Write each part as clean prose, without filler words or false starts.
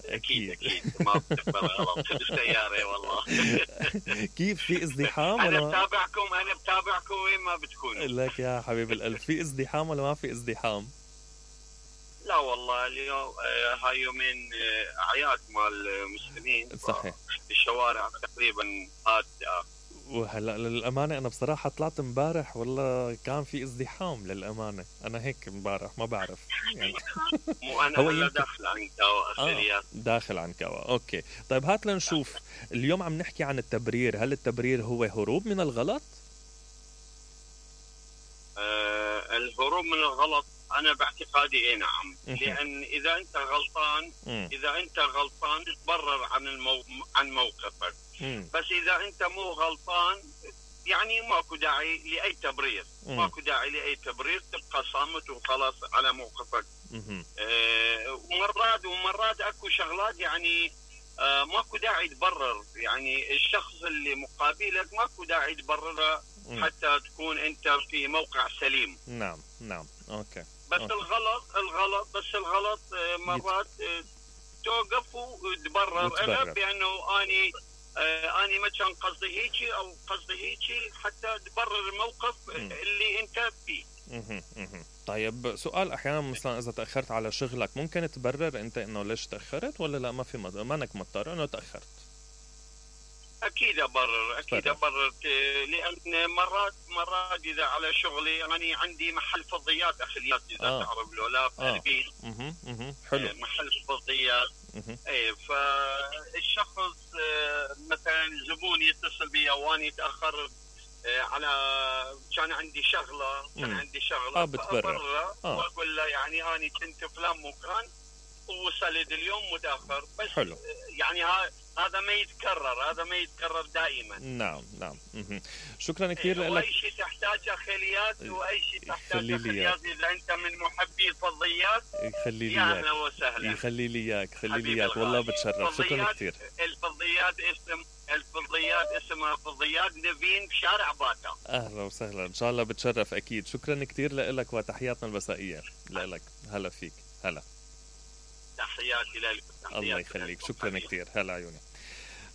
اكيد ما بتقبل غلط بالسياره والله. كيف في ازدحام انا ولا بتابعكم وين ما بتكونوا. لك يا حبيب القلب، في ازدحام ولا ما في ازدحام؟ لا والله اليوم هاي يومين اعياد مال المسلمين، صحيح. الشوارع تقريبا هادئه. وهلا للأمانة أنا بصراحة طلعت مبارح والله كان في ازدحام للأمانة، أنا هيك مبارح ما بعرف يعني. مو أنا هلا داخل عن كوا أخيريات. داخل عن كوا، أوكي. طيب هات لنشوف اليوم عم نحكي عن التبرير، هل التبرير هو هروب من الغلط؟ الهروب من الغلط أنا باعتقادي إيه نعم، لأن إذا أنت غلطان تبرر عن موقفك. بس إذا أنت مو غلطان يعني ماكو داعي لأي تبرير، تبقى صامت وخلاص على موقفك. ومرات أكو شغلات يعني ماكو داعي تبرر، يعني الشخص اللي مقابلك ماكو داعي تبرره حتى تكون أنت في موقع سليم. نعم أوكي. بس الغلط مرات توقف وتبرر أنا بأنه أني ما كان قصدي هيجي أو قصدي هيجي، حتى تبرر الموقف اللي أنت فيه. طيب سؤال، أحيانا مثلا إذا تأخرت على شغلك ممكن تبرر أنت إنه ليش تأخرت، ولا لا ما في مانك مضطر إنه تأخرت؟ أكيد أبرر لأن مرات إذا على شغلي يعني عندي محل فضيات أخليات إذا تعرف له لا في حلو. محل فضيات. ايه فالشخص مثلا الزبون يتصل بي واني تأخر على كان عندي شغلة بتبرر واقول له يعني أنا كنت فلان مكان ووصلت اليوم متأخر. بس حلو. يعني هذا ما يتكرر دائما. نعم. شكرا كثير لك. واي شيء تحتاج اخليات اذا انت من محبي الفضيات يخلي لي اياك، اهلا وسهلا. يخلي لي اياك والله بتشرف. شكرا كثير. الفضيات اسمها فضيات نيفين بشارع باتا. اهلا وسهلا، ان شاء الله بتشرف اكيد. شكرا كثير لك وتحياتنا المسائيه لك. هلا فيك. هلا، تحياتي لك. الله يخليك. شكرا كثير. هلا عيوني.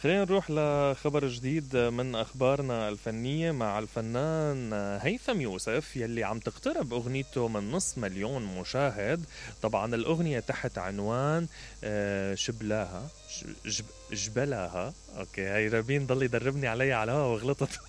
خلينا نروح لخبر جديد من أخبارنا الفنية مع الفنان هيثم يوسف يلي عم تقترب أغنيته من 500,000 مشاهد. طبعا الأغنية تحت عنوان جبلاها. أوكي، هاي رابين ضل يدربني عليها على الهوا وغلطت.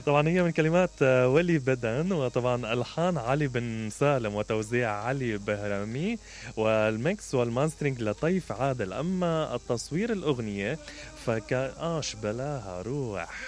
طبعا هي من كلمات ولي بدن، وطبعا ألحان علي بن سالم وتوزيع علي بهرامي، والميكس والماسترينج لطيف عادل. أما التصوير الأغنية فكان شبلاها روح